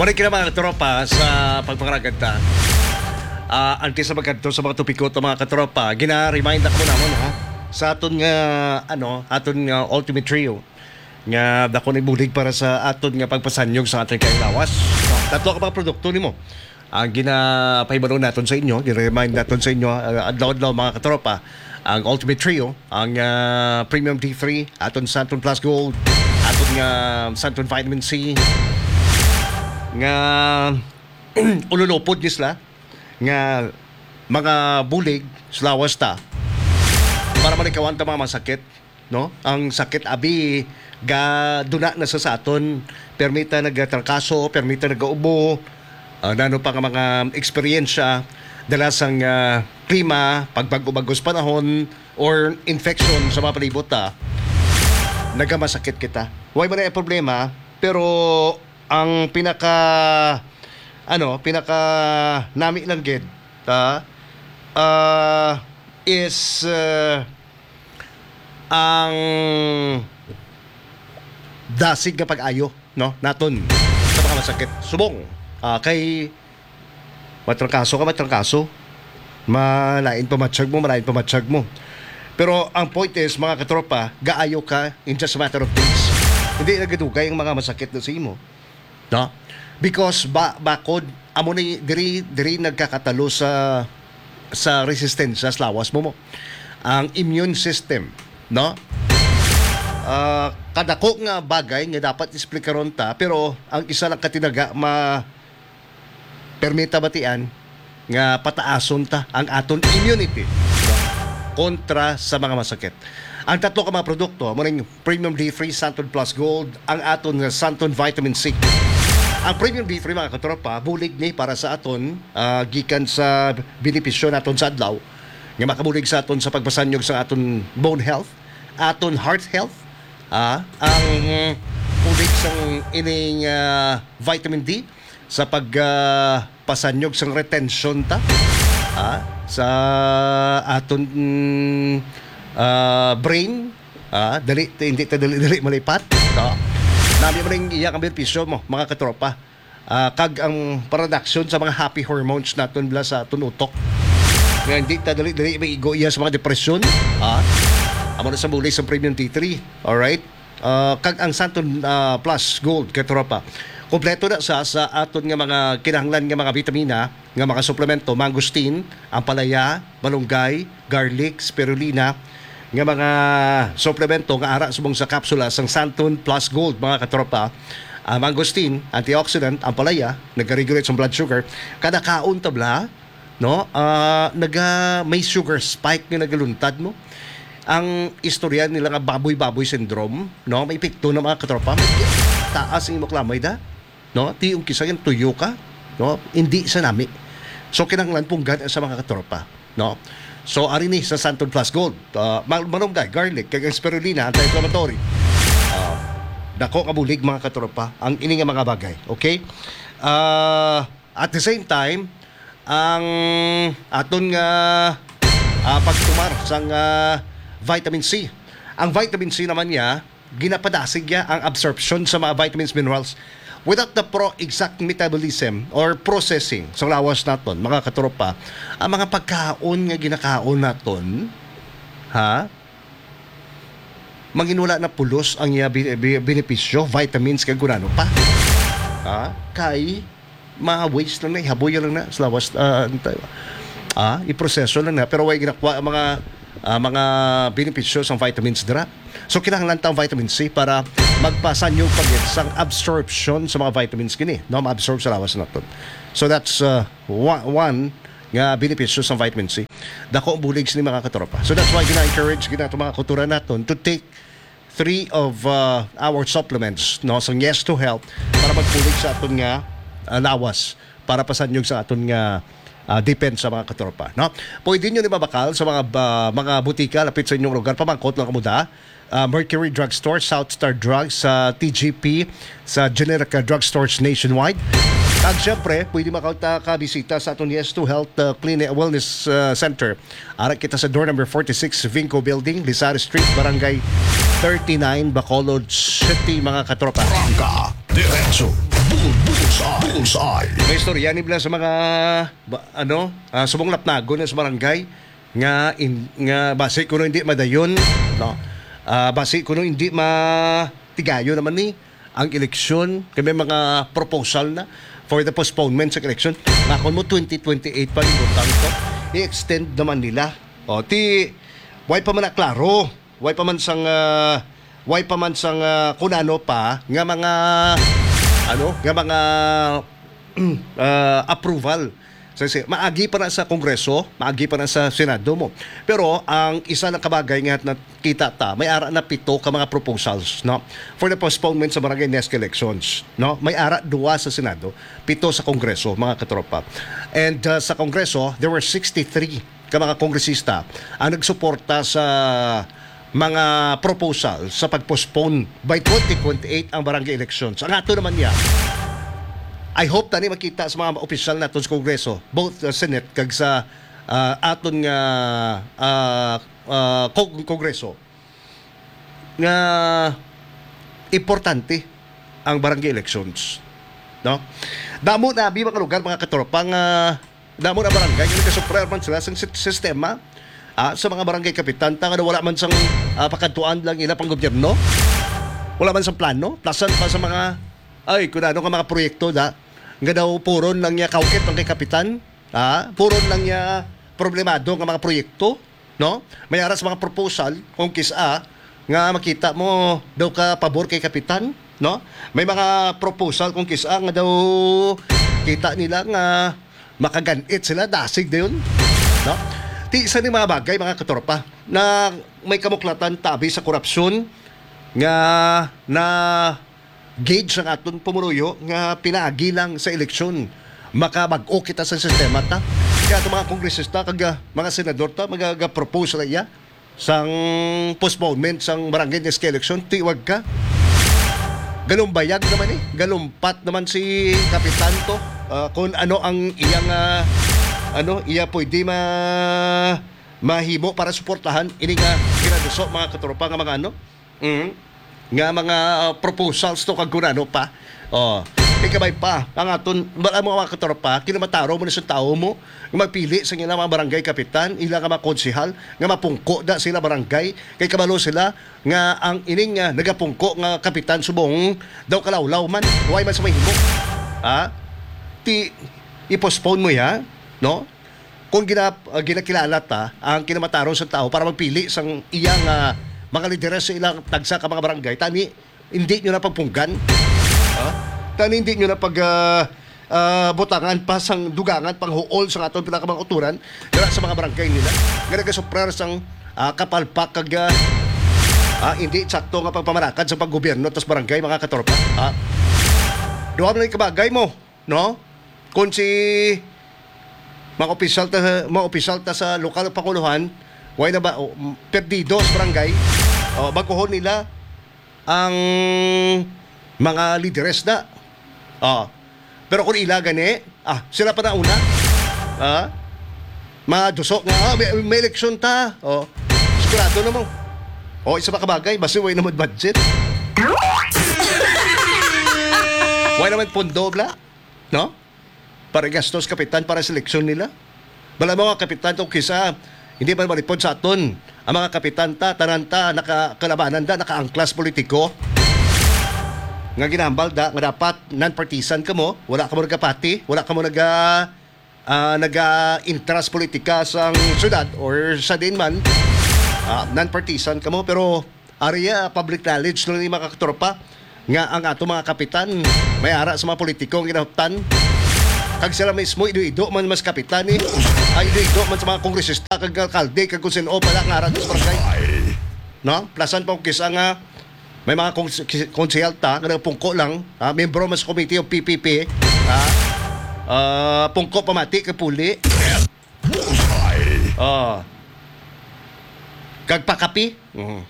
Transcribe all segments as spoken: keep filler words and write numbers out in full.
Balik na, mga katropa, sa pagpangaragad ta. Ah, antes sa magkadto sa mga topiko to, mga katropa, gina-remind ako namon, ha, sa aton nga, ano, aton nga Ultimate Trio, nga dako ni bulig para sa aton nga pagpasanyog sa aton kay lawas. Tatlo ka mga produkto nimo ang ginapahibalo naton sa inyo, gina-remind naton sa inyo, ah, adlaw-adlaw, mga katropa, ang Ultimate Trio, ang, ah, Premium D three, aton Santon Plus Gold, aton nga Santon Vitamin C, nga ululupod ni sila nga mga bulig sa lawas ta para malikawan ta mga masakit, no? Ang sakit abi ga duna na sa, sa aton, permita nagatrangkaso, permita nagaubo, ah, nano pa nga mga eksperyensya dala sang, ah, klima, pagbag-o-bagos panahon, or infection sa mga palibot ta, nagamasakit kita. Way man ang problema, pero ang pinaka, ano, pinaka nami lang gid, ah, ah, is, ah, ang dasig nga pag-ayo, no, naton sa mga masakit. Subong, ah, kay matrangkaso ka, matrangkaso. Malain pa matsyag mo, malain pa matsyag mo. Pero ang point is, mga katropa, gaayo ka in just a matter of days. Hindi nagadugay ang mga masakit na sa imo. No? Because ba, bakod, amo ni, diri, diri nagkakatalo sa, sa resistensya sa lawas mo, mo. Ang immune system, no? Ah, kadako nga bagay nga dapat eksplikaron ta, pero ang isa lang katinaga ma-, permita batian nga pataason ta ang aton immunity kontra sa mga masakit. Ang tatlo ka mga produkto, amo ning Premium D three, Santon Plus Gold, ang aton nga Santon Vitamin C. Ang Premium D three, mga katropa, bulig ni para sa aton, ah, gikan sa benepisyo naton sa adlaw nga makabulig sa aton sa pagpasanyog sa aton bone health, aton heart health, ah, ang bulig sang ining, ah, vitamin D sa pag, ah, pasanyog sang retention ta, ah, sa aton, mm, ah, brain, ah, dali, hindi ta dali-dali malipat. So, nami man ang iya nga benepisyo mo, mga katropa. Ah, kag ang production sa mga happy hormones naton bala sa aton utok. Nga hindi ta dali-dali maigo iya sa mga depresyon, ah, amo na sa bulig sa Premium D three. Alright? Ah, kag ang Santon, ah, Plus Gold, katropa. Kompleto na sa, sa aton nga mga kinahanglan nga mga bitamina, nga mga suplemento, mangosteen, ampalaya, malunggay, garlic, spirulina, nga mga suplemento nga ara subong sa kapsula sang Santon Plus Gold, mga katropa. Ang mangosteen, antioxidant, ampalaya, nag-regulate sa blood sugar. Kada kaon ta bala, no? Ah, naga, may sugar spike nga nagaluntad mo. Ang istorya nila nga baboy-baboy syndrome, no? May epekto na, mga katropa. May taas ang imo kalamay da, no? Ti yung kisa yung tuyo ka, no? Hindi sa nami. So, kinahanglan punggan sa mga katropa, no? So, ari ni sa Santon Plus Gold, ah, mal-, malunggay, garlic, kag ang spirulina, anti-inflammatory. Ah, dako ka bulig, mga katropa, ang ini nga mga bagay, okay? Ah, at the same time, ang aton nga, ah, pagtumar sang, ah, vitamin C. Ang vitamin C naman niya, ginapadasig niya ang absorption sa mga vitamins, minerals. Without the pro-, exact metabolism or processing sa lawas naton, mga katropa, ang mga pagkaon nga ginakaon naton, ha? Manginula na pulos ang iya bi-, bi-, benepisyo, vitamins, kag kunano pa. Ha? Kay ma-waste lang na, ihaboy lang na sa lawas, ah, ano tayo? Ah, iproseso lang na, pero way ginakuha ang mga, ah, mga benepisyo sang vitamins dira. So, kinahanglan ta ang vitamin C para magpasanyog pa gid sang absorption sa mga vitamins kini, no? Ma-absorb sa lawas naton. So, that's, uh, one, one nga benepisyo sa vitamin C. Dako ang bulig sini, mga katropa. So, that's why gina-encourage gid nato mga kautoran naton to take three of, uh, our supplements, no, sa Yes to Health para magbulig sa aton nga, uh, lawas, para pasanyog sa aton nga, uh, depensa, mga katropa, no? Pwede nyo ni mabakal sa mga, uh, mga butika lapit sa inyong lugar. Pamangkot lang kamo da. Uh, Mercury Drugstore, South Star Drugs, sa T G P, sa generic, uh, drugstores nationwide. Kag siyempre, pwede makabisita sa aton Yes to Health, uh, Clinic Wellness, uh, Center. Ara kita sa door number forty-six, Vinco Building, Lizares Street, Barangay thirty-nine, Bacolod City, mga katropa. Arangka diretso, bulbul sa Bullseye. May istorya ni bala sa mga ba, ano, ah, subong lapnagon na sa barangay nga in, nga basi kuno hindi madayon, no? Ah, basi kuno hindi matigayon naman ni ang eleksyon, kay may mga proposal na for the postponement sa election. Nga kon mo twenty twenty-eight pa, ibutang to, i-extend naman nila. O, ti, way pa man na klaro, way pa man sang, ah, way pa man sang, ah, kun ano pa nga mga, ano, nga mga, ah, approval. Sa, si, maagi pa na sa Kongreso, maagi pa na sa Senado mo. Pero ang isa na kabagay nga nakita ta, may ara na pito ka mga proposals, no, for the postponement sa barangay next elections, no? May ara duwa sa Senado, pito sa Kongreso, mga katropa. And, uh, sa Kongreso, there were sixty-three ka mga kongresista ang nagsuporta sa mga proposal sa pag-postpone by twenty twenty-eight ang barangay elections. Ang ato naman niya, I hope tani makita sa mga opisyal naton sa Kongreso, both, uh, Senate kag sa, uh, aton nga, uh, uh, Kong-, Kongreso, nga importante ang barangay elections, no? Damo na abi mga lugar, mga katropa, nga damo na barangay nga nagasuffer man sila sa sit-, sistema, ah, sa mga barangay kapitan ta nga wala man sang, ah, pakadtuan lang ila pang gobyerno. Wala man sang plano, plasan pa sa mga, ay, kun ano nga mga proyekto da, nga daw puron lang niya kaukit ang kay kapitan, ah, puron lang niya problemado nga mga proyekto, no? May ara sa mga proposal kung kis-a nga makita mo daw ka pabor kay kapitan, no? May mga proposal kung kis-a nga daw kita nila nga makaganit sila, dasig dayon, no? Ti isa ni mga bagay, mga katropa, na may kamuklatan tabi sa korupsyon nga na gauge ang aton pumuruyo nga pinaagi lang sa eleksyon. Makabag-o kita sa sistema ta. Kaya itong mga kongresista kag, ah, mga senador ta, magagapropose na iya sang postponement sang barangay next election, tiwag ka. Galumbayag naman eh. Galumpat naman si Kapitan to. Ah, kung ano ang iyang, ah, ano, iya pwede ma-, mahimo para suportahan ini nga ginaduso, mga katropa, nga mga ano, mm, nga mga, ah, proposals to kag kung ano pa. Oh, ikabay pa ang aton, bala mo, mga katropa, kinamatarong mo na sa tao mo nga magpili sa ilang mga barangay kapitan, ila nga mga konsehal, nga mapungko da sila barangay, kay kabalo sila nga ang ining, ah, nagapungko nga kapitan subong daw kalawlaw man, way man sa mahimo. Ha? Ti, i-postpone mo ya, no? Kung gina-, ah, ginakilala ta ang kinamatarong sa tao para magpili sang iyang, ah, mga lideres sa ilang tagsa ka mga barangay, tani hindi nyo na pagpunggan. Ha? Tani hindi nyo na pag, ah, ah, butangan pa sang dugangan, panghuol sa aton pila ka mga uturan dira sa mga barangay nila nga nagasuprar sang, ah, kapalpak kag, ah, ah, hindi sakto nga pagpamalakad sa paggobyerno tas barangay, mga katropa. Ha? Duha man lang kabagay mo, no? Kung si mga opisyal ta, mga opisyal ta sa lokal nga panguluhan, way na ba, o, m-, perdido sa barangay, o, baguhon nila ang mga lideres na. O. Pero kung ila gani, ah, sila pa na una. Ah, maduso nga, ah, may, may eleksyon ta. O, sigurado na mo. O, isa pa kabagay, basi way na mo budget. Way naman pondo, bla. No? Para gastos kapitan para sa eleksyon nila. Bala mo nga kapitan, kung kisa, hindi man malipod sa aton. Ang mga kapitan ta, tanan ta, naka-, kalabanan da, nakaangklas politiko. Nga ginahambal da, nga dapat non-partisan kamo, wala kamo nagapati, wala kamo naga-, ah, naga-intras politika sa syudad or sa din man. Ah, non-partisan kamo, pero ari, ah, public knowledge lang ni mga katropa nga ang ato mga kapitan may ara sa mga politiko ang ginahuptan. Kag sila mismo, ido-ido man mas kapitan, eh. Ay, ido-ido man sa mga kongresista, kag alkalde, kag kung sino pala nga ara sa barangay. No? Plasan pa kung kisa nga may mga kons-, kis-, konsehal ta nga nagapungko lang, ha? Membro mas committee of P P P, ha? Ah, pungko pamati kay puli. Bullseye. Ah. Kag pakapi. Mhm.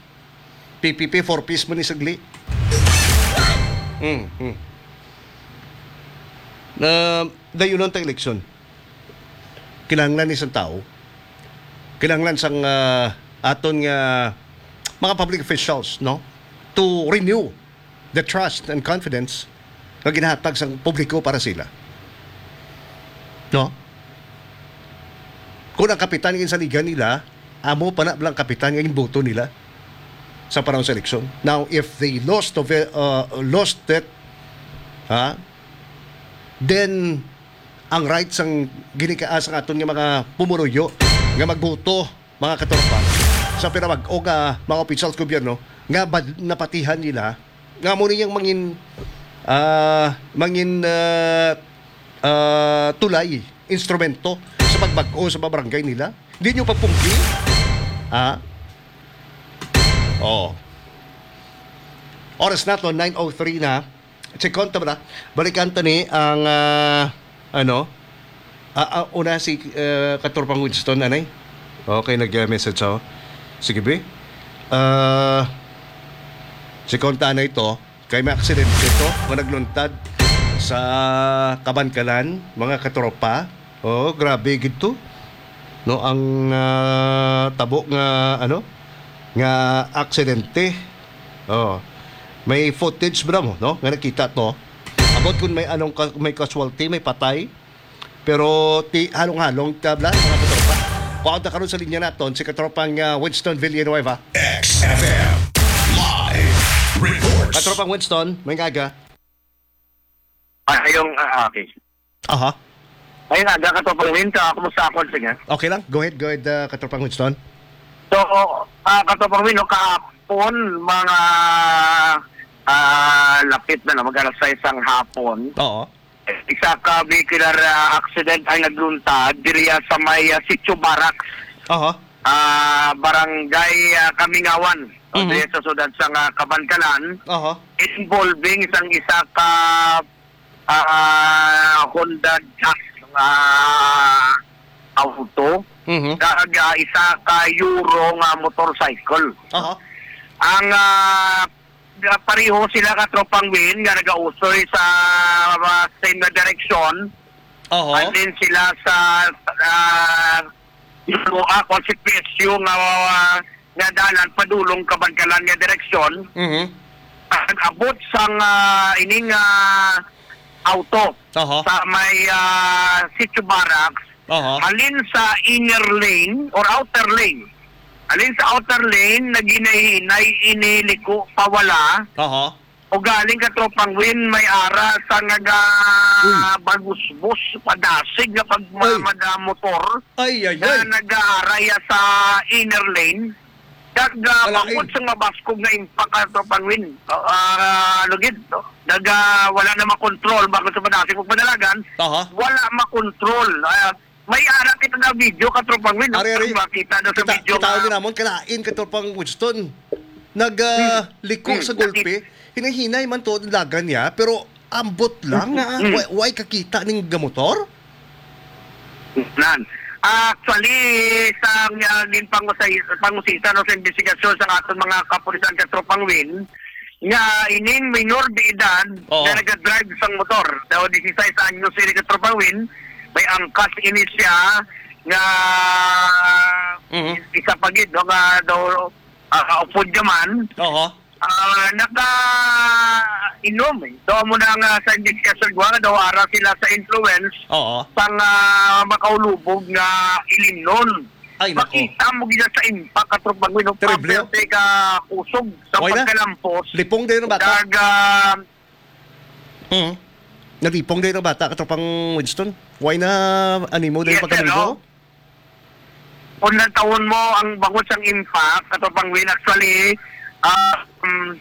P P P, four Ps mo ni sagli. Mm, mm. Na, dayunon ta eleksyon. Kinahanglan ni sang tao. Kinahanglan sang, ah, aton nga mga public officials, no? To renew the trust and confidence nga ginahatag sang publiko para sila. No? Kung ang kapitan nga ginsaligan nila, amo pa na lang kapitan nga ginboto nila sa panahon sa eleksyon. Now, if they lost of it, uh, lost it, ha? Then, ang rights sang ginikaas ang aton nga mga pumuruyo nga magboto, mga katropa, sa pinamag-o nga mga opisyal sa gobyerno nga bad-, napatihan nila nga mo niyang mangin, ah, mangin, ah, ah, tulay, instrumento sa pagbag-o sa mga barangay nila. Di nyo pagpungki? Ha? Oh. Oras nato, nine oh three na. Check on ta ba? Balikan ta ni ang, ah, ano? Ah, ah, una si, ah, Katropang Winston, anay? Okay, nag-message ako. Sige, be. Ah, check on ta na ito. Kay may aksidente to nga nagluntad sa Kabankalan, mga katropa. Oh, grabe gid to. No, ang, ah, tabo nga, ano, nga aksidente. Oh. May footage ba mo, no? Nga nakita to. About kung may anong ka-, may casualty, may patay. Pero ti halong-halong tabla, mga katropa. Kuha ta karon sa linya naton si katropang, ah, Winston Villanueva. X F M live report. Katropang Winston, may aga. Ay, ayong, ah, okay. Aha. Ayun nga, ga-, Katropang Win, ka-, kumusta ako, sige? Okay lang. Go ahead, go ahead, uh, Katropang Winston. So, ah, Katropang Win, no, kahapon, mga, ah, lapit na, no, mag-alas sais ang hapon. Oo. Isa ka vehicular, ah, accident ang nagluntad diriya sa may, ah, Sitio Barracks. Aha. Ah, Barangay, ah, Kamingawan, o, mhm, diri sa siyudad sa nga Kabankalan, aha, involving isang isa ka, ah, Honda Jazz nga auto, mhm, kag, ah, isa ka Euro nga motorcycle. Aha. Ang, ah, pareho sila ka Tropang Win nga nagausoy sa, ah, same na direksyon. Aha. And then sila sa, ah, Lua, kung si P S U nga, ah, nga dalan padulong Kabankalan nga direksyon. Mhm. Nag-abot sang, ah, ining, ah, auto, aha, sa may, ah, Sitio Barracks, aha, halin sa inner lane or outer lane. Halin sa outer lane, naghinay-hinay ini liko pawala. Aha. O galing ka, Tropang Win, may ara sa naga Uy. bagusbos, padasig nga pag ma-, Ay. maga motor Ay, ay, na ay. nag-aara ya sa inner lane. Kag, ah, Wala, bangod eh. sa mabaskog nga impact, ah, Tropang Win, ah, ah, lugid, no? Nag, ah, wala na makontrol, bangod sa padasig pagpadalagan, Aha. wala makontrol. Ah, may ara kita na video, Katropang Win, no? Ari, ari. Makita na sa Kita, video kita nga din namon, kalain, Katropang Winston. Nag, ah, Hmm. liko Hmm. sa gulpi. Hinay-hinay man to ang lagan niya, pero ambot lang Hmm. nga, Hmm. wa-, way kakita ning gamotor? Nan. Actually, sa nga gin pangusay-, pangusisa, no, sa investigasyon sa aton mga kapulisan, Katropang Win, nga ining minor de edad Oo. nga nagadrive sang motor. Daw disisais anyos ini, Katropang Win, may angkas ini siya nga Mhm. isa pa gid, no, nga daw, ah, upod ka man. Oo. Ah, naka-inom, eh. So, amo na nga sa investigasyon ko, nga daw ara sila sa influence Oo. sang, ah, makaulubog nga ilimnon. Ay, nako. Makita mo gid sa impact, Katropang Win, no? Terrible, oh. Perte ka kusog sa Why na? pagkalampos. Lipong din ang bata. Kag, ah, Hmm. Nalipong din ang bata, Katropang Winston. Why na animo din Yes, sir, pagkalimpo? no? Kung natawon mo ang bangod sang impact, Katropang Win, actually, ah, um,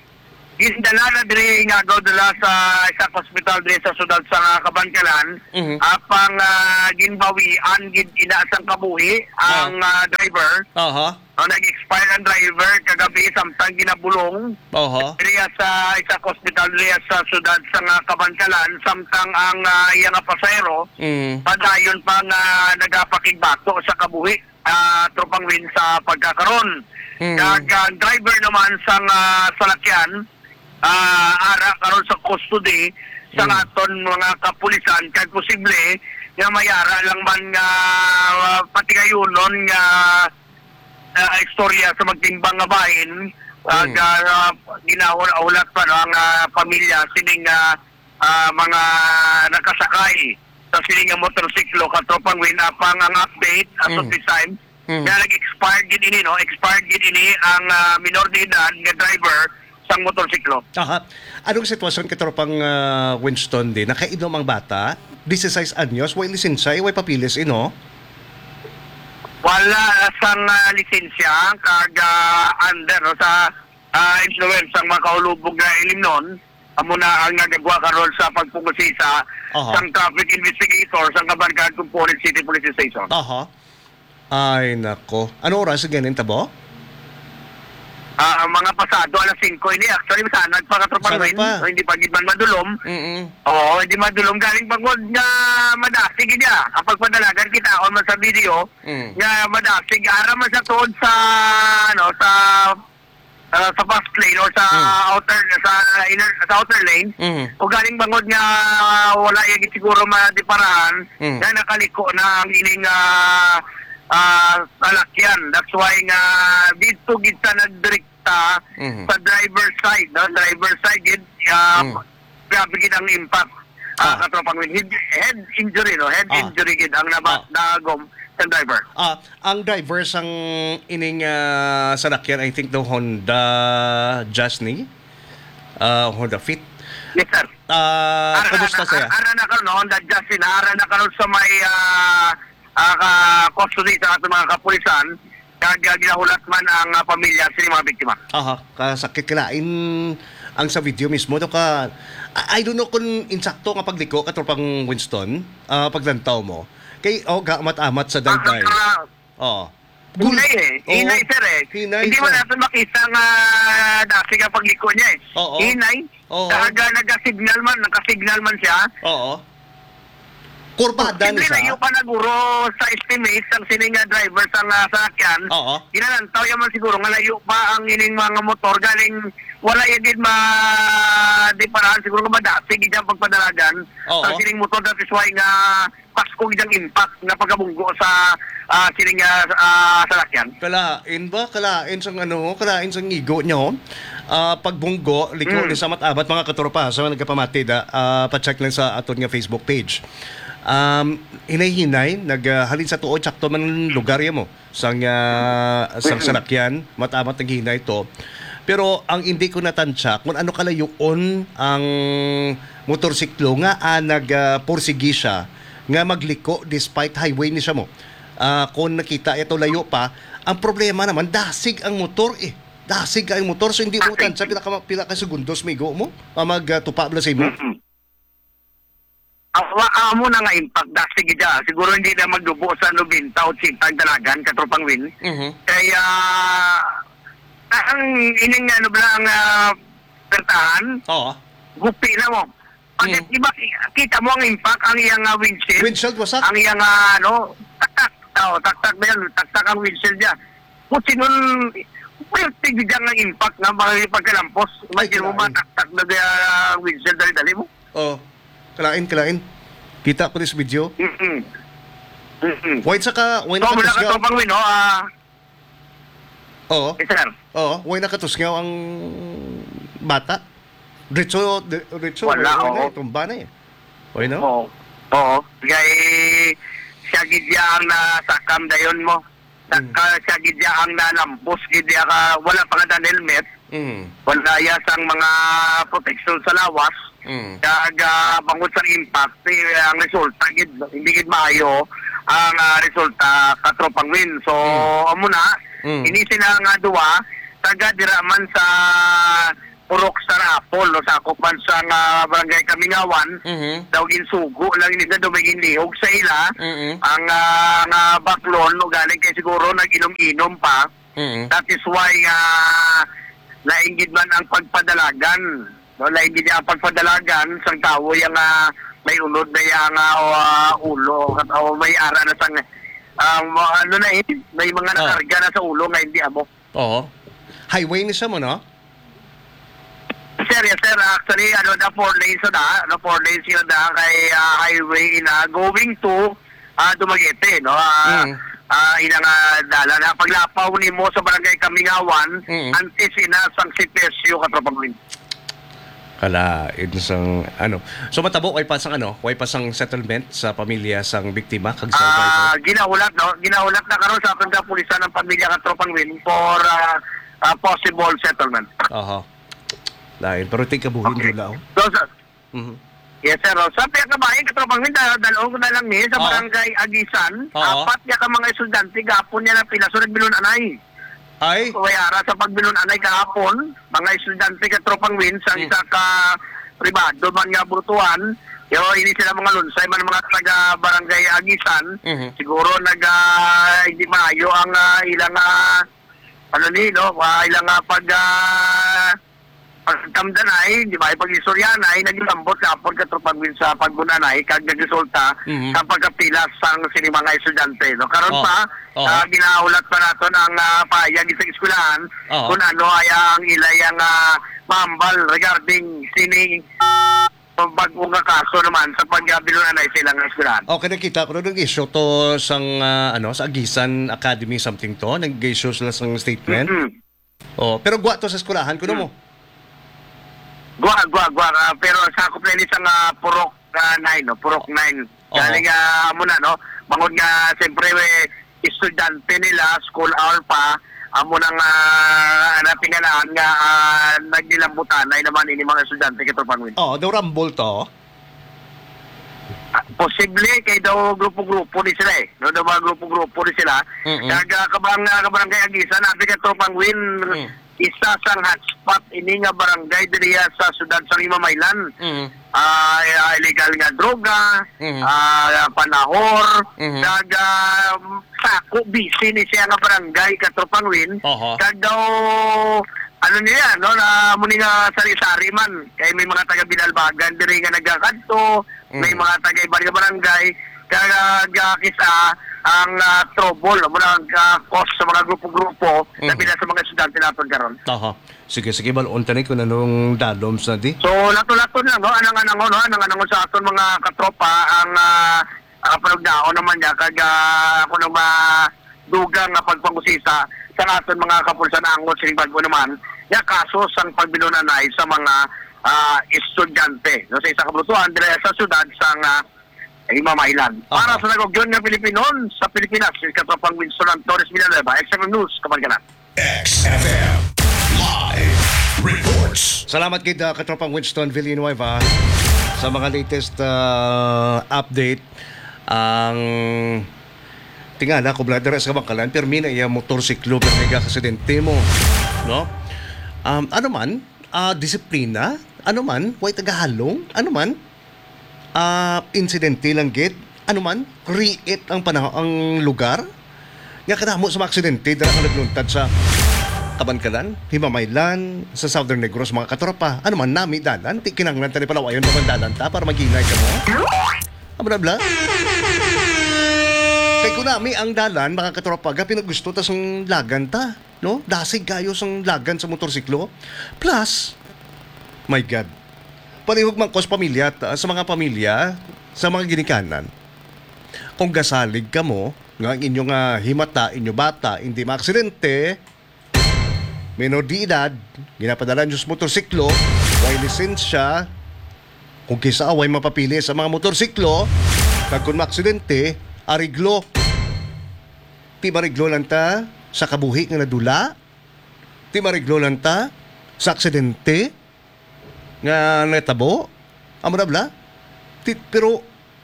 gindala na diri nga agaw dala sa isa ka hospital diri sa siyudad sa Kabankalan. Mhm. Apang, ah, ginbawian gid ina sang kabuhi ang, Ah. ah, driver. Aha. Oh, nag-expire ang driver kagabi samtang ginabulong Aha. diriya sa isa ka hospital diriya sa siyudad sa nga Kabankalan, samtang ang, ah, iya nga pasahero Mm. padayon pa nga nagapakigbato sa kabuhi, ah, Tropang Win, sa pagkakaron. Mm. Kag ang driver naman sang, ah, salakyan, ah, ara karon sa custody sa Mm. aton mga kapulisan, kag posible nga may ara lang man nga, ah, patigayunon nga, ah, istorya sa magtimbang nga bahin, kag, Mm. ah, ginahulat pa, no, ang, ah, pamilya sining, ah, ah, mga nakasakay. sa sini nga motorsiklo, Katropang Win, apang ang update as of Mm. this time, Mm. nga nag-expired gid ini, no? Expired gid ini ang, ah, minor de edad nga driver sang motorsiklo. Aha. Anong sitwasyon, Katropang, ah, Winston, di? Nakainom ang bata? Dieciséis anyos, way lisensya, eh, way papeles, eh, no? Wala sang, ah, lisensya, kag, ah, under, no, sa, ah, influence sang makaulubog nga ilimnon, amo na ang nagagwa karon sa pagpungusisa Aha. sang traffic investigator sang Kabankalan Component City Police Station. Aha. Ay, nako. Ano oras ang ganin tabo? Ah, mga pasado alas singko ini. Actually, masanag pa, Katropang Masanag Win. pa. O, hindi pa gid man madulom. Mm-mm. Oo, hindi madulom. Galing pa gud nga madasig gid, ah. Ang pagpadalagan, kitaon man sa video Mm. nga madasig. Ara man sa tuod sa, ano, sa, ah, sa fast lane o sa Mm. outer, sa inner, sa outer lane. Mm. O galing bangod nga wala yung siguro madiparahan Mm. nga nakaliko na ang ining, ah, ah, salakyan. That's why nga dito gid sa nagdirekta Mhm. sa driver side, no? Driver side gid, ah, Mm. grabe gid ang impact. Ah, Ah. Katropang Win. Head, head injury, no? Head Ah. injury gid ang naba-, Ah. nagom sa driver. Ah, ang driver sang ining, ah, salakyan, I think, the Honda Jazz ni, ah, Honda Fit. Yes, sir. Ah, Ara, kumusta ara, siya? ara, ara na karon, no? Honda Jazz ni, ara na karon sa may, ah, ah, ka-, custody sa ating mga kapulisan. Kag, ah, ginahulat man ang, ah, pamilya sa mga biktima. Aha, kasakit, kalain ang sa video mismo. Do ka, I, I don't know kung insakto nga pagliko, Katropang Winston, ah, paglantaw mo. Kay, oh, gaamat-amat sa dayday. Ah, ah, Oo. Gul- Hinay eh. Oo. Hinay, sir, eh. Hinay Hindi mo siya. natin makita nga dati nga pagliko niya, eh. Oo. Hinay. Oo. Talaga, nagka-signal man, nagka-signal man siya. Oo. Kurbada ni Siyempre, siya. layo pa naguro sa estimate ang sini nga driver sa nga salakyan. Oo. Ginalantaw niya man siguro nga layo pa ang ining mga motor. Galing, wala yung gid ma-, di parahan siguro nga madasig gid ang pagpadalagan Oo. ang sining motor. That is why nga pasko gid ang impact nga pagkabunggo sa, ah, sining, ah, ah, salakyan. Kalain ba? Kalain sang ano, kalain sang igo niyo. Ah, pagbunggo, liko Mm. ni sa mat-amat, mga katropa, sa mga nagkapamati, da, ah, pa-check lang sa aton nga Facebook page. Um, hinay-hinay, nag, ah, halin sa tuod, sakto man ang lugar ya mo. Sang, ah, sang Mm. salakyan, mat-amat naghinay to. Pero ang hindi ko natansya kung ano kalayoon ang motorsiklo nga, ah, nag, ah, pursigi siya nga magliko despite highway ni siya mo. Ah, kung nakita ito layo pa, ang problema naman, dasig ang motor eh. Dasig ang motor, so hindi mo Dasig. tansya pila ka, pila ka segundos, migo mo, ah, mag, ah, tupa bala sa imo. Mm-mm. Awa, amo na nga impact, dasig gid siya. Siguro hindi na magdubo sa nobenta, otsenta ang dalagan, Katropang Win. Mhm. Kaya, ang ining ano bala ang, ah, pertahan, Oo. gupi na mo. Pag Mm. di ba, kita mo ang impact, ang iyang, ah, windshield, Windshield, wasak? ang iyang, ah, ano, taktak. Oh, taktak na yan, taktak ang windshield niya. Kung sinun, pwerte gid ang impact nga mga pagkalampos. Ay, Imagine mo, kalain. mataktak na ang, ah, windshield, dali-dali mo. Oh, kalain, kalain. Kita ko this video. Mm-mm. Mm-mm. Why sa ka, why So, mula nakatusngaw? Katropang Win, no? Ah, Oo. Yes, sir. Oo, why nakatusngaw ang bata? Diretso, di-, diretso, Wala, why, why na oo. eh, tumba na eh. Why, no? Oo. Oo. Kay siya gid ya ang nasakam dayon mo. Sa Mm. ka-, siya gid ya ang nalampos, gid ya ka, wala pa nga daan helmet. Mm. Wala ya sang mga protection sa lawas. Mm. Kag, ah, bangod sa impact, eh, ang resulta gid, hindi gid maayo ang, ah, resulta, Katropang Win. So, Mm. amo na, Mm. ini sila nga duwa, taga dira man sa Purok Sarapol, no, sakop man sa nga Barangay Kamingawan, Mhm. daw ginsugo lang nila, daw may ginlihog sa ila, Mm-mm. ang, ah, nga baklon, no, galing kay siguro nag-inom-inom pa. Mm. That is why nga lain gid man ang pagpadalagan. No, lain gid ang pagpadalagan sang tawo yang, ah, may unod na yang, ah, o, ah, ulo, o may ara na sang, ah, ma-, ano na eh, may mga Ah. nakarga na sa ulo nga hindi amo. Oo. Highway ni siya mo, no? Sir, yes, sir. Actually, ano, the four lanes na, ano, four lanes yun na kay, ah, highway na going to, ah, Dumaguete, no? Ah, Mm. ah, ina nga dalan, ha? Paglapaw nimo sa Barangay Kamingawan, Mm. antes ina sang C P S U, Katropang Win. Ala, insang, ano. So, matabo, way pa sang, ano, way pa sang settlement sa pamilya sang biktima, kag survivor? Ah, ginahulat, no? Ginahulat na karon sa aton kapulisan ang pamilya nga Tropang Win for, ah, ah, possible settlement. Aha. Lain, pero tig kabuhi ang Okay. dula, oh. So, sa, Mhm. Yes, sir. Oh, sa piyakabahin, Katropang Win, da-, dalon ko na lang ni sa Oo. Barangay Agisan. Oo. Apat niya ka mga estudyante, gapon niya na pila. So, nagbilon anay. Ay? So, way ara sa pagbilon anay kahapon, mga estudyante, Katropang Win, sa Hmm. isa ka pribado man nga butuan. Yo, ini sila mga lunsay man, mga taga Barangay Agisan. Mhm. Siguro nag, ah, hindi maayo ang, ah, ilang, ah, ano ni, no? Ah, ilang, ah, pag, ah, pagtamdan ay, di ba, ay pag-istorya na ay naglambot sa apod, Katropang Win, sa pagbunan ay, kag nagresulta Mhm. sa pagkapila sang sini mga estudyante, no? Karon Oh. pa, Oh. ah, ginahulat pa naton ang, ah, pahayag sa eskwelahan Oo. kung ano ay ang ilay ang, ah, mahambal regarding sini bag-o nga kaso naman sa pagbilon anay sa ilang eskwelahan. Okay, nakita ko na nag-issue to sang, ah, ano, sa Agisan Academy something to. Nag-issue sila sang statement. Mm-mm. Oh, pero gwa to sa eskwelahan, kuno Hmm. mo? Gwa, gwa, gwa. Ah, pero sakop na ini sa nga Purok, ah, nine, no? Purok nine. Oo. Galing, ah, amo na, no? Bangod nga, siyempre, eh, estudyante nila, school hour pa, amo na nga, natingalahan nga, ah, nagnilambutanay naman ini mga estudyante, Katropang Win. Oo, daw rambol to. Ah, posible kay daw grupo-grupo ni sila eh. No, daw mga grupo-grupo ni sila. Mm-mm. Kag, ah, kabang, ah, kabarangay Agisan, abi, Katropang Win, Mm. isa sang hotspot ini nga barangay diri sa siyudad sa Rimamaylan. Mm. Ah, ah, illegal nga droga, Mm. ah, panahor, Mm. kag, ah, sako, busy ni siya nga barangay, Katropang Win. Oho. Kag daw, ano niya, no, na muni nga sari-sari man. Kay may mga taga Binalbagan diri nga nagakadto, may Mm. mga taga iban nga barangay, kag, ah, kisa ang, ah, trouble, amo na ang, ah, cause sa mga grupo-grupo, Mm. labi na sa mga estudyante naton karon. Aha. Sige, sige, bal-on ta ni kung anong dalom sa di. So, lato-lato na, no? Anang-anangon, no? Anang-anangon sa aton mga katropa ang, ah, ah, panugnaon naman niya, kag, ah, ako nang madugang nga pagpangusisa sa aton mga kapulisan angot sining bag-o naman nga kaso sang pagbilon anay sa mga, ah, estudyante, no, sa isa ka brutuan diri sa siyudad sang, ah, Rimamaylan. Para Aha. sa nag-ugyon nga Pilipinon sa Pilipinas, si Katropang Winston Antonez Villanueva, X F M News, Kabankalan. X F M Live Reports. Salamat gid, ah, Katropang Winston Villanueva, sa mga latest, ah, update. Ang tingala ko, brother, sa Kabankalan, pirmi na iya motorsiklo, pirmi ka aksidente mo, no? Um, ano man, ah, disiplina, ano man, way tagahalong, ano man, ah, insidente lang gid, ano man, create ang panahon, ang lugar. Nga kadamo sa mga aksidente dira nga nagluntad sa Kabankalan, Himamaylan, sa Southern Negros, mga katropa. Ano man, nami dalan, ti kinahanglan ta ni palawayon pa man dalan ta para maghinay ka mo. Amo na bla. Kay kung nami ang dalan, mga katropa, ga pinagusto ta sang lagan ta, no? Dasig kayo sang lagan sa motorsiklo. Plus, my God, palihog man ko sa pamilya, ta-, sa mga pamilya, sa mga ginikanan. Kung gasalig kamo nga ang inyo nga himata, inyo bata, hindi maaksidente, minor de edad, ginapadala nyo sa motorsiklo, way lisensya, kung kisa way mapapili sa mga motorsiklo, kag kung maaksidente, ariglo. Ti mariglo lang ta sa kabuhi nga nadula, ti mariglo lang ta sa aksidente nga natabo. Amo na bala. Ti-, pero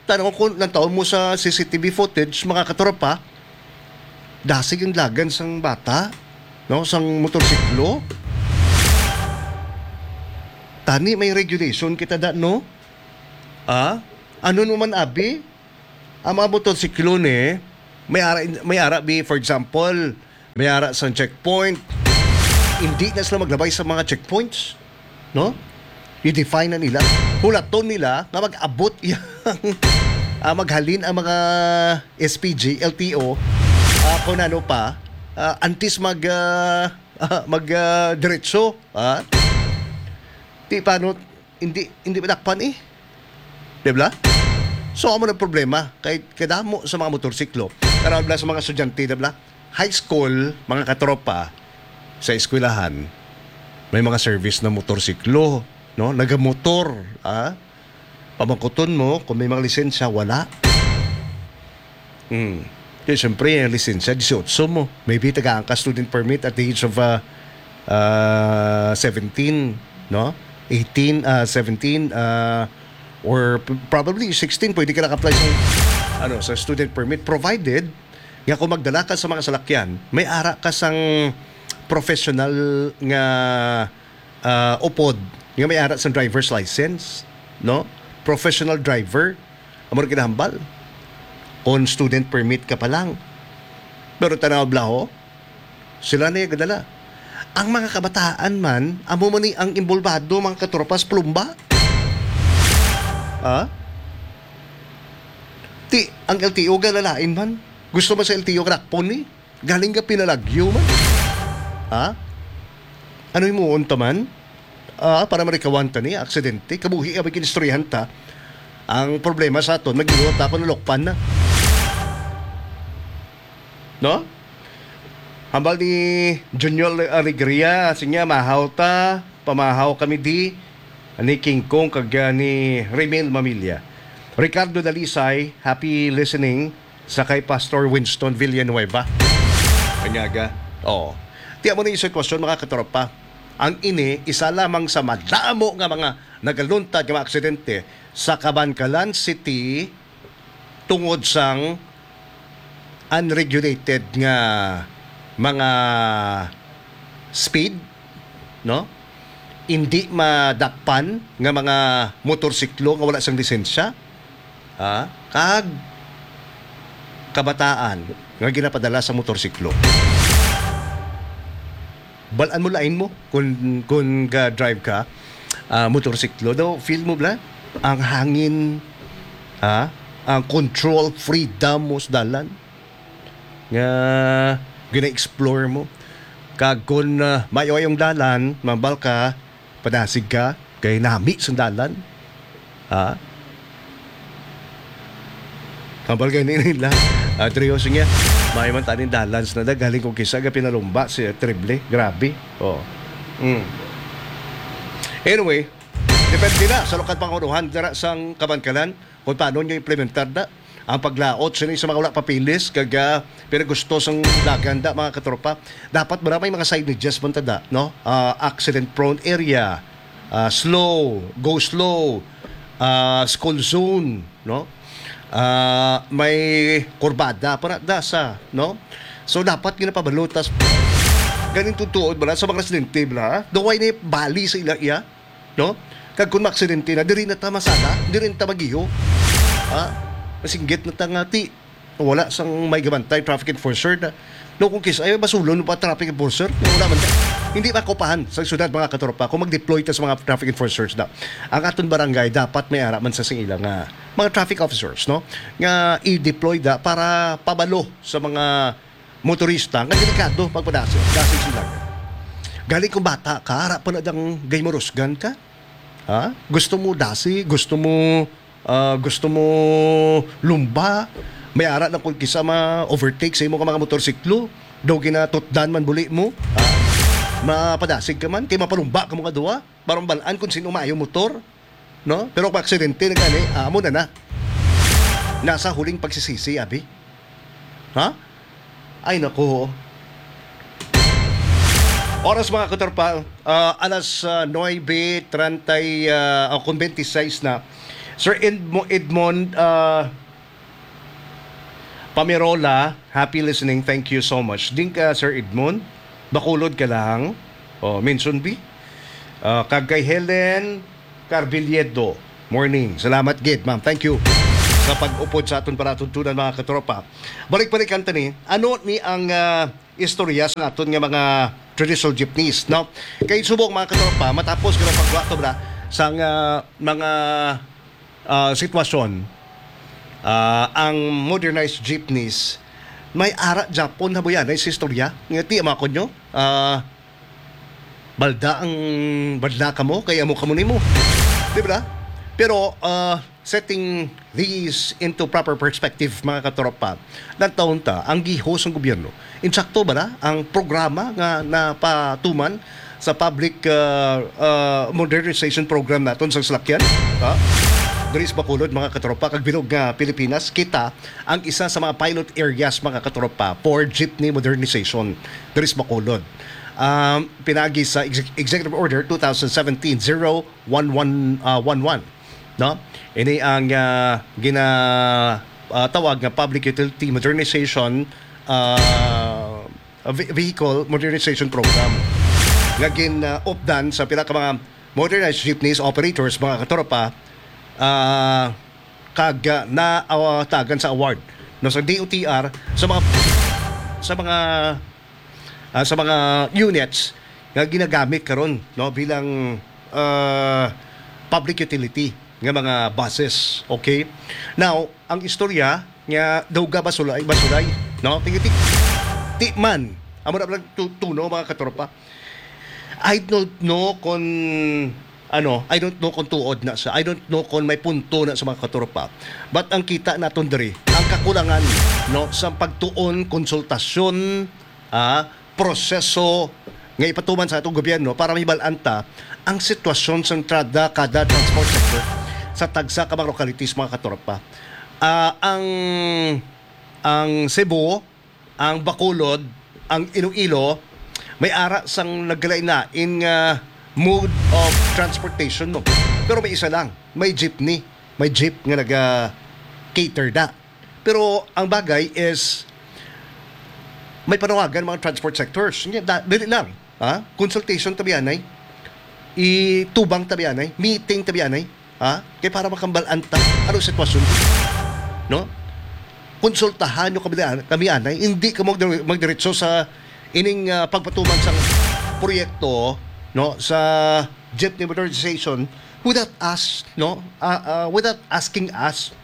tanaw ko, nagtaon mo sa C C T V footage, mga katropa, dasig ang lagan sang bata, no, sang motorsiklo. Tani may regulation kita da, no? Ah? Ano naman, abi? Ang mga motorsiklo ni, may ara, may ara bi, for example, may ara sa checkpoint. Hindi na sila maglabay sa mga checkpoints, no? I-define na nila. Hulaton nila nga mag-abot yang, ah, maghalin ang mga S P G, L T O, ah, kung ano pa, ah, antes mag, ah, ah, mag, ah, diretso, ah. Di paano, hindi, hindi madakpan eh. Di ba? So, amo na problema. Kay kadamo sa mga motorsiklo. Pero bla sa mga estudyante, di ba? High school, mga katropa, sa eskwelahan, may mga service na motorsiklo. no? Nagamotor, ah? Pamangkuton mo kung may mga lisensya, wala. Hmm. Kaya siyempre, ang lisensya, dieciocho mo. Maybe tagaan ka student permit at the age of, uh, uh, seventeen, no? Eighteen, uh, seventeen, uh, or p- probably sixteen, pwede ka naka-apply sa, ano, sa student permit, provided nga kung magdala ka sa mga salakyan, may ara ka sang professional nga, ah, upod nga may ara sang driver's license, no? Professional driver, amo ra kinahambal. Kung student permit ka pa lang. Pero tanaw bala, ho, sila na yung gadala. Ang mga kabataan man, amo man ni ang imbolbado, mga katropa, sa plumba. Ha? Ti, ang L T O galalain man. Gusto man sa L T O rakpon ni. Galing ka pinalagyo man. Ha? Ano himuon ta man? Ah, para marikawan ta ni aksidente. Kabuhi ka, may kinistoryahan ta. Ang problema sa aton, mag-iwat ako, nalukpan na. No? Hambal ni Junior Alegria, sinya, mahaw ta, pamahaw kami di, ni King Kong kag, ah, ni Remel Mamilya. Ricardo Dalisay, happy listening sa kay Pastor Winston Villanueva. Kanyaga. Oo. Ti amo ni sitwasyon, mga katropa. Ang ini, isa lamang sa madamo nga mga nagaluntad nga mga aksidente sa Kabankalan City tungod sang unregulated nga mga speed, no? Hindi madakpan nga mga motorsiklo nga wala sang lisensya, ha? Kag kabataan nga ginapadala sa motorsiklo. Bal-an mo lain mo kung, kung ga-drive ka, ah, motorsiklo. Daw, feel mo bala ang hangin, ah, ang control, freedom mo sa dalan. Nga gina-explore mo. Kag kung, ah, maayo ang dalan, mambal ka, padasig ka, kay nami sa dalan. Ha? Hambal gani nila. Ah, Trio, sige. May man taning dalans na da. Galing kong kisa, ga pinalumba si Triple. Grabe. Oh. Mm. Anyway, depende na sa lokal pangunuhan dira sang Kabankalan kung paano nyo implementar na ang paglaot sini sa mga wala papilis kag, ah, pero gusto sang dagan da, mga katropa. Dapat ba may mga signages man ta da, no? Ah, accident prone area, ah, slow, go slow, ah, school zone, no? Ah, may kurbada para dasa, no? So, dapat ginapabalutas ganin tutuod bala sa mga residente bala, daw way ni bali sa ila iya, no? Kag kung maaksidente na, diri na ta masala, diri na ta magiho. Ha? Masinggit na ta nga ti wala sang may gabantay, traffic enforcer na. No, kung kis ay basulon pa traffic enforcer, no, wala man ta. Hindi makupahan sa syudad, mga katropa, kung mag-deploy ta sa mga traffic enforcers na. Ang aton barangay dapat may ara man sa sila nga mga traffic officers, no? Nga i-deploy da para pabalo sa mga motorista nga delikado pagpadasig, dasig sila. Galing kung bata ka, ara pa na dang gay marusgan ka. Ha? Gusto mo dasi, gusto mo, ah, gusto mo lumba, may ara na kung kisa ma-overtake sa imo ka mga motorsiklo, daw ginatutdan man buli mo, ha? Mapadasig ka man, kay mapalumba ka mo nga duwa, para mabalaan kung sino maayo motor, no? Pero kung aksidente na gani, ah, amo na na. Nasa huling pagsisisi, abi. Ha? Ay, naku. Oras, mga katropa, ah, alas, ah, nuebe treinta, ah, o kung twenty-six na. Sir Edmo-, Edmond, ah, Pamirola, happy listening. Thank you so much. Din ka, Sir Edmond. Bacolod ka lang. Oh, mention bi. Ah, kag kay Helen Carbiliedo. Morning. Salamat gid, ma'am. Thank you sa pag-upod sa aton palatuntunan, mga katropa. Balik-balikan ta ni, ano ni ang, ah, istorya sa aton nga mga traditional jeepneys, no? Kay subong, mga katropa, matapos ka ng pagwato na sa nga mga, ah, sitwasyon, ah, ang modernized jeepneys, may ara Japon na buyan sa istorya. Nga ti, mga kunyo, ah, balda ang, balda kamo, kay amo kamo nimo. Di ba? Pero, ah, setting these into proper perspective, mga katropa, nagtaon ta ang gihos sang gobyerno. Insakto ba na ang programa nga napatuman sa public, ah, ah, modernization program naton sa salakyan, ha? Diri sa Bacolod, mga katropa, kag bilog nga Pilipinas, kita ang isa sa mga pilot areas, mga katropa, for jeepney modernization diri sa Bacolod. Um, pinagi sa Exec-, Executive Order two thousand seventeen zero one one, ah, one one, no? Ini ang, ah, gina-, ah, tawag nga Public Utility Modernization, ah, Ve-, Vehicle Modernization Program nga gin-, ah, updan sa pila ka mga modernized jeepneys operators, mga katropa, ah, kag, ah, naawatagan sa award, no, sa D O T R sa mga, sa mga, ah, sa mga units nga ginagamit karon, no, bilang, ah, public utility nga mga buses. Okay? Now, ang istorya nga daw ga basulay, basulay, no? Tingiti, ti man, amo na lang tu-, tuno, mga katropa. I don't know kung, ano, I don't know kung tuod na sa, I don't know kung may punto na sa, mga katropa. But ang kita naton diri, ang kakulangan, no, sa pagtuon, konsultasyon, ah, proseso nga ipatuman sa atong gobyerno para mahibal-an ta ang sitwasyon sa entrada kada transport sector sa tagsa ka mga localities, mga katropa. Ah, ang, ang Cebu, ang Bacolod, ang Iloilo, may ara sang nagkalain-lain nga mode of transportation, no? Pero may isa lang, may jeepney, may jeep nga naga-cater da. Pero ang bagay is, may panawagan mga transport sectors. Nya, da-, dili lang, ha? Consultation tabianay. Itubang tabianay, meeting tabianay, ha? Kay para makambal-an ta ano sitwasyon, no? Konsultahan nyo kami, kami anay. Hindi ka magdire-, magdiretso sa ining, ah, pagpatuman sang proyekto, no, sa jeepney modernization without us, no? Ah, ah, without asking us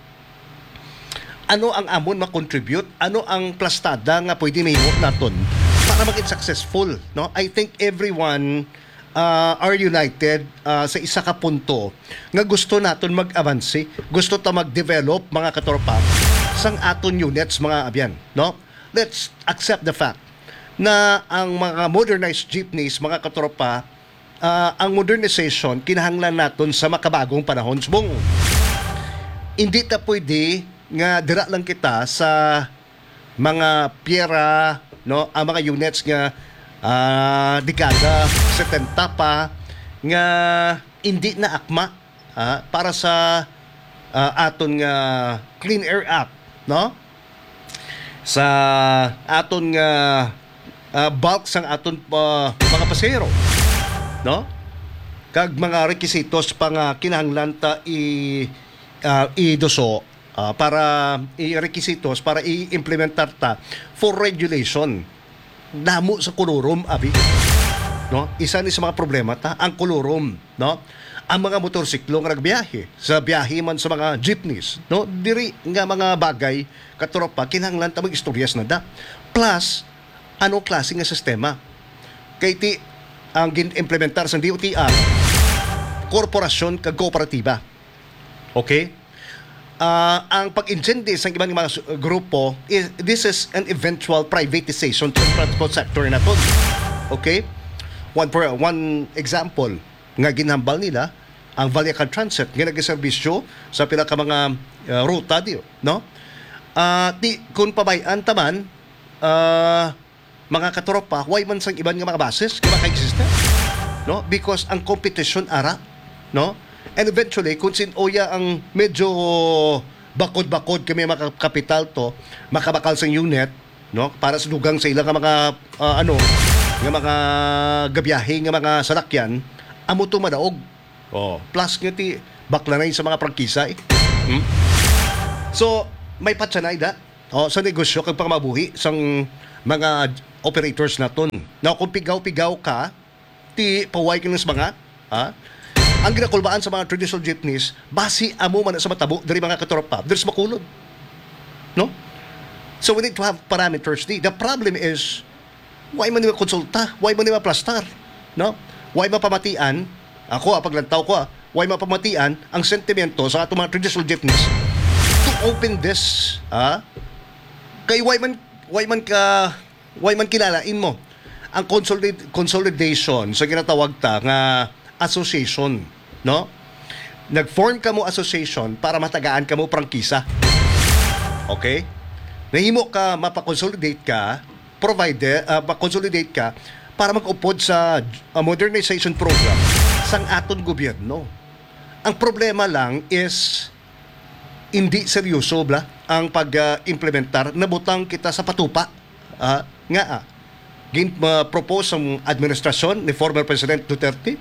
ano ang amon ma-contribute, ano ang plastada nga pwede mahimo naton para maging successful, no? I think everyone, ah, are united, ah, sa isa ka punto nga gusto naton mag-avanse, gusto ta mag-develop, mga katropa, sang aton units, mga abyan, no? Let's accept the fact na ang mga modernized jeepneys, mga katropa, ah, ang modernization kinahanglan naton sa makabagong panahon. Subong, hindi ta pwede nga dira lang kita sa mga piyera, no, ang mga units nga, ah, dekada setenta pa nga hindi na akma, ah, para sa, ah, aton nga Clean Air Act, no? Sa aton nga, ah, bulk sang aton, ah, mga pasahero, no? Kag mga rekisitos pa nga kinahanglan ta i-, ah, iduso, ah, para i-, requisitos para i-implementar ta for regulation. Damo sa kolorum, abi. No? Isa ni sa mga problema ta, ang kolorum, no? Ang mga motorsiklo nga nagbiyahe, sa biyahe man sa mga jeepneys, no? Diri nga mga bagay, katropa, kinahanglan ta mag-istoryas na da. Plus, ano klase nga sistema? Kay ti, ang gin-implementar sa D O T R, korporasyon kag kooperatiba. Okay? Ah, ang pag-intindi sa iban nga mga su-, grupo, is, this is an eventual privatization sa transport sector naton. Okay? One, for, one example nga ginhambal nila, ang Vallecas Transit nga nagaserbisyo sa pila ka mga, ah, ruta, di, no? Ah, di, kung pabay-an ta man, ah, mga katropa, why man sang iban nga mga buses nga maka-existe? No? Because ang competition ara, no? And eventually, kung sin-o ya ang medyo bakod-bakod kami mga kapital to, makabakal sang unit, no? Para sa dugang sa ila nga mga, ah, ano, nga mga gabiyahe, nga mga salakyan, amo to madaog. Oh, plus nga ti baklanay sa mga prangkisa, eh. Hmm? So, may patsanay da, oh, sa negosyo kag pangmabuhi sang mga operators naton. Now, kung pigaw-pigaw ka, ti paway ka ng mga, ha? Ang ginakulbaan sa mga traditional jeepneys, basi amo man sa matabo diri, mga katropa, diri sa Bacolod. No? So, we need to have parameters di. The problem is, why man nila konsulta? Why man nila plastar? No? Why mapamatian? Ako, ah, paglantaw ko, ah, why mapamatian ang sentimento sa atong mga traditional jeepneys to open this, ah? Kay why man, why man ka, why man kilalain mo ang consolid-, consolidation sa ginatawag ta nga association, no? Nag-form kamo association para matagaan kamo prangkisa. Okay? Nahimo ka, mapakonsolidate ka, provider, ah, makonsolidate ka para mag-upod sa, ah, modernization program sang aton gobyerno. Ang problema lang is hindi seryoso bala ang pag, ah, implementar. Nabutang kita sa patupa. Ah, nga, ah, gin-, ah, propose ang administrasyon ni former President Duterte.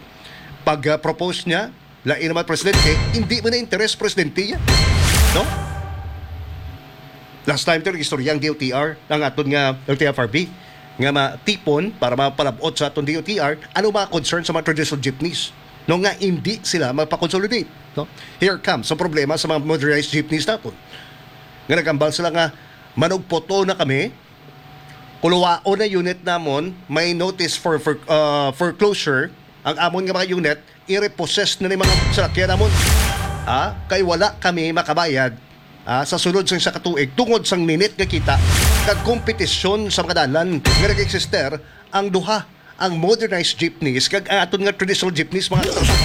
Pag, ah, propose niya, lain naman presidente, hindi man na interes presidente yan. No? Last time, to, istorya ang D O T R, ang aton nga L T F R B, nga matipon para mapalabot sa aton D O T R, ano mga concern sa mga traditional jeepneys? No, nga hindi sila magpa-consolidate. No? Here comes ang problema sa mga motorized jeepneys naton. Nga nagambal sila nga, "Manugputo na kami, kuluwaon na unit namon, may notice for, for, uh, foreclosure, ang amon nga mga unit, i-repossess na ni mga salakyan namon. Ah, kay wala kami makabayad, ah, sa sulod sa isa ka tuig tungod sang minit nga kita kag kompetisyon sa mga dalan nga nag-eksister ang duha, ang modernized jeepneys kag ang aton nga traditional jeepneys, mga katropa."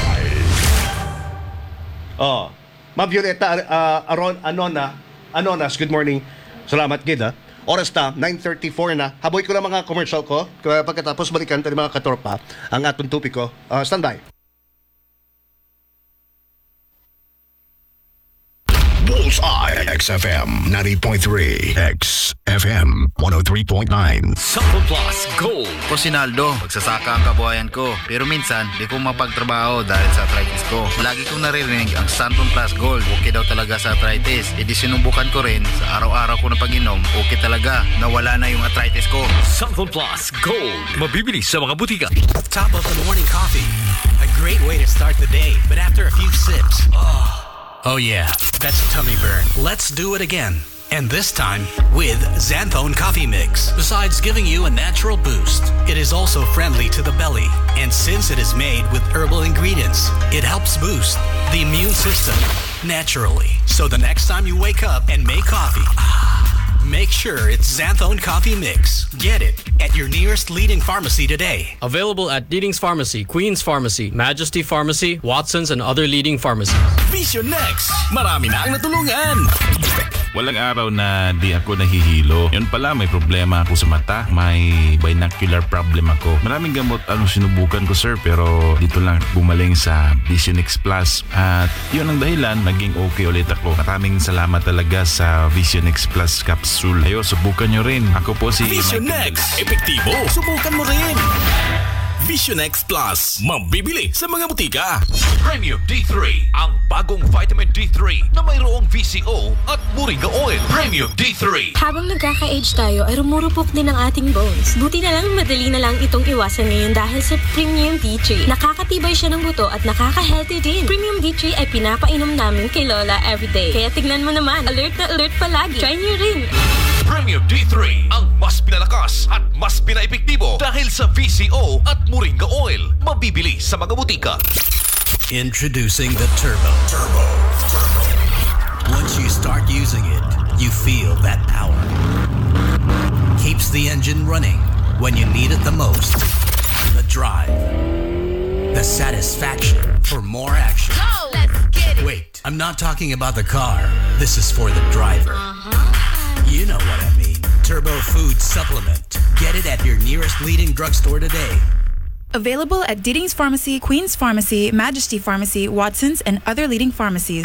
Oh, Ma'am Violeta, ah, Aron, Anona, Anonas, good morning. Salamat gid, ha. Oras ta, nine thirty-four na. Haboy ko lang mga commercial ko, kaya pagkatapos balikan ta ni mga katropa ang aton topiko. Ah, standby. Bullseye, X F M ninety point three, X F M one oh three point nine. Sample Plus Gold. Ko si Naldo, magsasaka ang kabuhayan ko. Pero minsan, di ko mapagtrabaho dahil sa arthritis ko. Lagi kong naririnig ang Santon Plus Gold. Okay daw talaga sa arthritis. E di sinubukan ko rin. Sa araw-araw ko na pag-inom, okay talaga. Nawala na yung arthritis ko. Santon Plus Gold. Mabibili sa mga butika. Top of the morning coffee. A great way to start the day. But after a few sips, oh, oh yeah, that's a tummy burn. Let's do it again. And this time with Xanthone Coffee Mix. Besides giving you a natural boost, it is also friendly to the belly. And since it is made with herbal ingredients, it helps boost the immune system naturally. So the next time you wake up and make coffee, ah, make sure it's Xanthone Coffee Mix. Get it at your nearest leading pharmacy today. Available at Deedings Pharmacy, Queen's Pharmacy, Majesty Pharmacy, Watson's, and other leading pharmacies. Vision Next. Marami na ang natulungan. Walang araw na di ako nahihilo. Yun pala, may problema ako sa mata. May binocular problem ako. Maraming gamot ang sinubukan ko, sir, pero dito lang gumaling sa Vision X Plus. At yun ang dahilan, naging okay ulit ako. Maraming salamat talaga sa Vision X Plus capsule. Ayo, subukan nyo rin. Ako po si Vision Michael Next. Epektibo. Subukan mo rin. Vision X Plus. Mabibili sa mga butika. Premium D three, ang bagong vitamin D three na mayroong V C O at moringa oil. Premium D three. Habang nagkaka-age tayo, ay rumurupok din ang ating bones. Buti na lang, madali na lang itong iwasan ngayon dahil sa Premium D three. Nakakatibay siya ng buto at nakaka-healthy din. Premium D three ay pinapainom namin kay Lola everyday. Kaya tignan mo naman, alert na alert palagi. Try niyo rin. Premium D three, ang mas pinalakas at mas pinaepektibo dahil sa V C O at moringa oil. Mabibili sa mga butika. Introducing the Turbo. Turbo. Turbo. Once you start using it, you feel that power. Keeps the engine running when you need it the most. The drive. The satisfaction for more action. Go! Let's get it! Wait, I'm not talking about the car. This is for the driver. Uh-huh. You know what I mean. Turbo Food Supplement. Get it at your nearest leading drugstore today. Available at Deedings Pharmacy, Queen's Pharmacy, Majesty Pharmacy, Watson's, and other leading pharmacies.